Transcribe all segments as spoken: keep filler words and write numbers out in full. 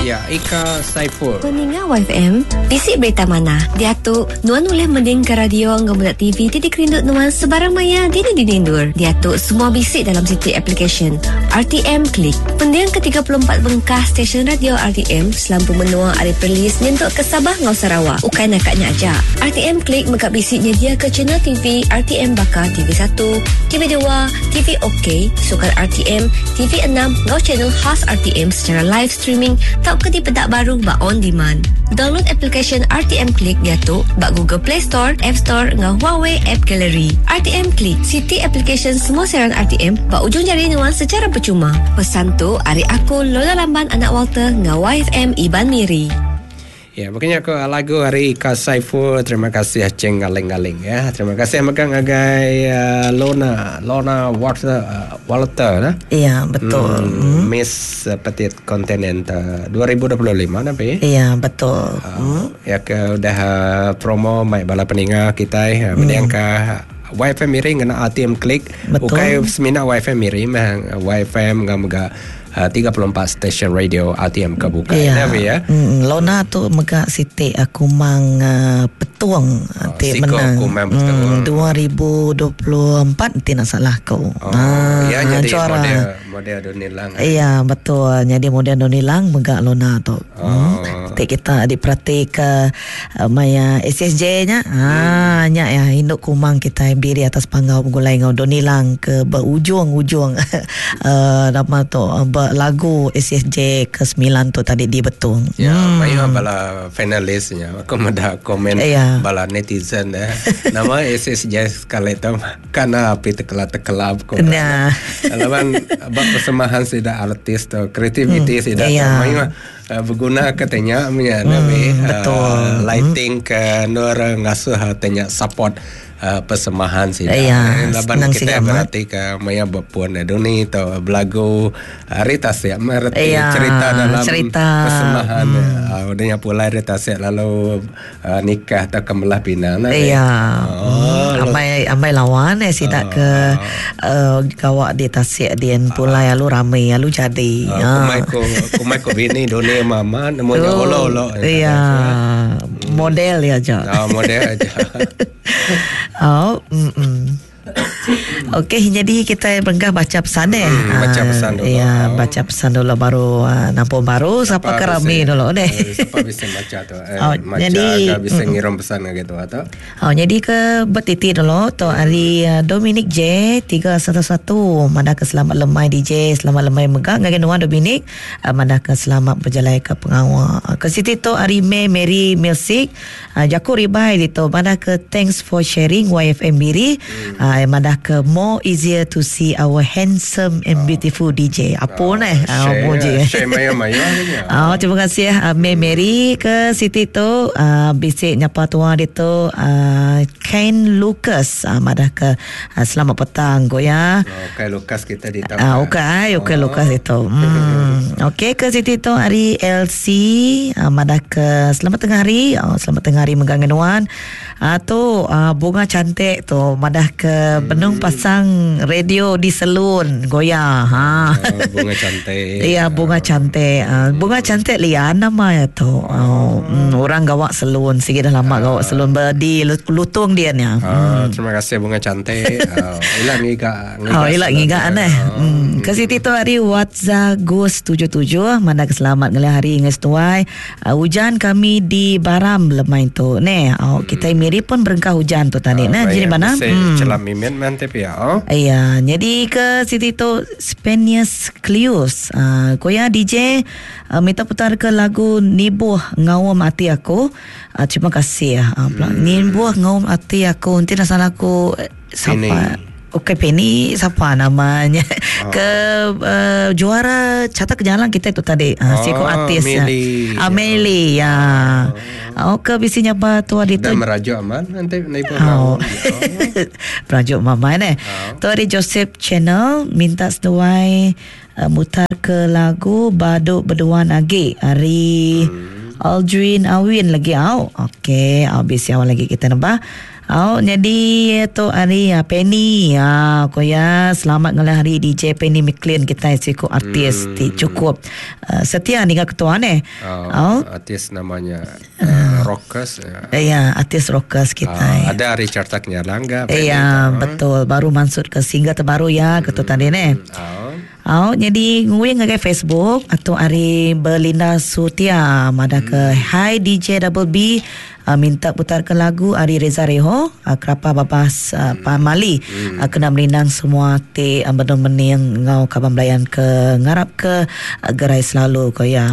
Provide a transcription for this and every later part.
Ya, Ika Saiful. Peninga Y F M, bisi berita mana? Diatu, nuan boleh mending ke radio ngau budak T V titik rindut nuan sebarang maya dini dinindur. Diatu, semua bisi dalam siti application R T M Klik. Pendiang ke tiga puluh empat bengkah stesen radio R T M selampu menua ari Perlis nyentuk ke Sabah ngau Sarawak. Ukai nakaknya aja. R T M Klik mega bisi nyedia ke channel T V R T M baka T V satu, T V dua, T V OK, Sukan R T M, T V enam ngau channel khas R T M secara live streaming tau ke dipedak baru ba on demand. Download application R T M Klik diatu ba Google Play Store, App Store ngau Huawei App Gallery. R T M Klik, siti application semua siaran R T M ba ujung jari nuan secara percuma. Pesan tu ari aku Lola Lamban anak Walter ngau Y F M Iban Miri. Ya, makanya aku lagu hari Ika Saiful. Terima kasih Ceng Galing-Galing ya. Terima kasih megang agai uh, Lona, Lona Walter, uh, Walter nah. Iya, betul. Hmm, hmm. Miss Petit Continental dua ribu dua puluh lima napi. Iya, betul. Uh, hmm. Ya ke udah uh, promo mai bala peninga kita uh, hmm. ke Y F M Miri ngena R T M Klik. Ukai semina Y F M Miri mah Y F M ngam Uh, tiga puluh empat stesen radio R T M kebuka. Ya. Ya. Mm, Lona tu mega siti aku mang uh, petuang oh, ti menang. Mm, dua ribu dua puluh empat ti nak salah kau. Oh, ah, ya jadi juara. model model Donilang. Iya, betul. Jadi model Donilang mega Lona tu. Oh. Mm. Ti kita diperhati ke uh, maya S S J nya. Ah, hmm. nya ya induk kumang kita berdiri atas panggau gulai ngau Donilang ke berujung-ujung uh, nama tu uh, lagu S S J ke sembilan tu tadi di Betung. Ya, hmm. Maya bala finalisnya. Aku ada komen ya. Bala netizen ya. Nama S S J sekali tu karena api tekela-tekelap ko. Nah. Lawan bab persemahan sida artis tu, kreativiti hmm. sida ya. Maya berguna katanya punya hmm, nabi betul. Uh, lighting ke nur ngasuh tanya support Uh, persemahan sih. Iya, laban kita berarti ke maya berpuan doni atau belagu Rita siap merti iya, cerita dalam cerita. Persemahan. Hmm. Uh, udahnya pula Rita siap lalu uh, nikah atau kemelah pinang. Iya. Oh, hmm. Amai amai lawan eh sih tak oh. ke uh, kawak di tasik dien pulai lalu ramai lalu jadi. Uh, kumai ko kumai ko bini doni mama namanya olo olo. Iya. Model ya aja. Oh, model aja. Oh, mm-mm. Okey, jadi kita berengkah baca pesan deh. Hmm, baca pesan dulu. Ya, baca pesan dulu baru uh, nampung baru siapa kerami dulu deh. Siapa bisa baca tu? Eh, oh, baca jadi bisa ngirim pesan gitu atau? Oh, jadi ke bertiti dulu tu hari Dominic J tiga satu satu mana ke selamat lemai D J, selamat lemai megah ngagai nuan Dominic, mana ke selamat berjalan ke pengawal. Ke situ tu hari May Mary Music, Jaku Ribai itu mana ke thanks for sharing Y F M Miri. Hmm. Uh, madah ke more easier to see our handsome and beautiful D J. Apa oh, ni? Share, share maya-maya. Oh, terima kasih uh, May Mary ke Siti tu uh, bisik nyapa tua dia tu uh, Ken Lucas uh, madah ke uh, selamat petang ko ya. Oh, Ken Lucas kita di tahu. Ah, okey, okey oh. Lucas itu. Hmm. Okey ke Siti tu hari L C uh, madah ke selamat tengah hari. Oh, selamat tengah hari megang nuan. Ah uh, tu uh, bunga cantik tu madah ke benung pasang radio di selun goya ha. Oh, bunga cantik. Iya, bunga cantik. Uh, bunga cantik lian nama ya tu. Oh, mm, orang gawak selun sikit dah lama gawak selun berdi lutung dia ni. Oh, hmm. Terima kasih bunga cantik. Oh, ilak ngiga. Oh, ilak ngiga aneh. Oh. Hmm. Ke situ tu hari WhatsApp Gus tujuh tujuh mana keselamat ngelah hari nges tuai. Uh, hujan kami di Baram lemai tu. Neh, oh, hmm. kita Miri pun berengkah hujan tu tadi. Oh, Nah, jadi mana? Hmm. Celam mimin mantap ya. Oh. Iya, jadi ke situ tu Spanius Clius. Uh, koya D J uh, minta putar ke lagu Nibuh Ngawam Ati Aku. Uh, terima kasih ya. Uh, hmm. Nibuh Ngawam Ati Aku. Nanti nak salah aku siapa? Okey, Penny siapa namanya? Oh. Ke uh, juara carta kejalan kita itu tadi. Uh, oh, siku artis. Meli. Ameli ya. Oh, ke bisinya apa tu hari tu? Dan merajuk aman nanti naik Oh. Merajuk mama ni. Oh. Tu hari Joseph Channel minta seduai uh, mutar ke lagu Baduk Berduan Agi hari hmm. Aldrin Awin lagi au. Okey, habis awal lagi kita nambah. Oh, jadi tu hari uh, Penny. Ah, ko ya selamat ngalih hari D J Penny McLean kita siku artis hmm. ti cukup uh, setia dengan ketua ne. Oh, oh. Artis namanya uh, rockers ya. Ya, artis rockers kita. Uh, ada Richard Taknya Langga. Ya, betul. Baru masuk ke single terbaru ya ketua hmm. tadi ne. Oh. Oh, jadi nguing ngagai Facebook atau hari Belinda Sutia madah ke hmm. Hi D J Double B uh, minta putarkan lagu Ari Reza Reho uh, kerapa babas uh, hmm. Pamali hmm. uh, kena merindang semua te uh, benar mening ngau kaban belayan ke ngarap ke uh, gerai selalu ko ya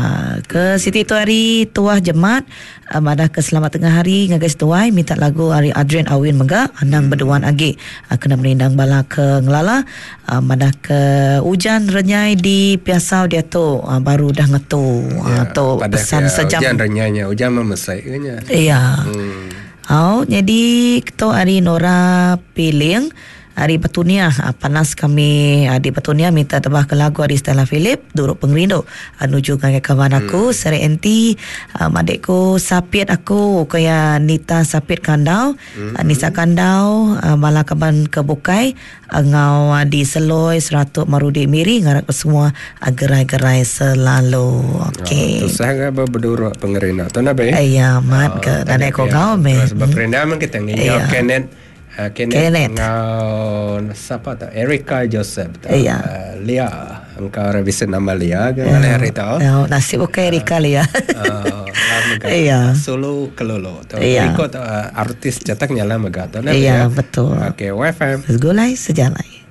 ke Siti tu hari tuah jemat uh, madah ke selamat tengah hari ngagai setuai minta lagu Ari Adrian Awin mega anang hmm. berduan agi uh, kena merindang bala ke ngelala uh, madah ke hujan renyai di Piasau dia tu uh, baru dah ngetu ya, uh, tu pesan sejam hujan renyainya hujan memesai nya. Iya. Hmm. Oh, jadi ketua hari Nora Piling hari Petunia panas kami di Petunia minta tebah ke lagu hari Stella Philip Duruk Pengerindu nuju ngagai kawan aku hmm. Seri N T um, adikku Sapit aku kaya Nita Sapit Kandau hmm. Nisa Kandau bala kaban ke bukai ngau di Seloi Seratuk Marudi Miri ngarap ke semua gerai-gerai selalu. Okey. Oh, tusah ga berduruk pengerindu tu nabe? Ya, mat ke nadai ko ngau me. Sebab perindu man kita nginyau Kenneth Uh, Kenneth, Kenneth. Ngau siapa tu? Erika Joseph tu. Iya. Uh, Lia. Engkau revisi nama Lia ke ngalih hari tu. Oh, nasib okey Erika Lia. Uh, iya. Solo kelolo tu. Iya. Ikut uh, artis cetak nyala mega tu. Iya, betul. Okey, Y F M. Segulai sejalai.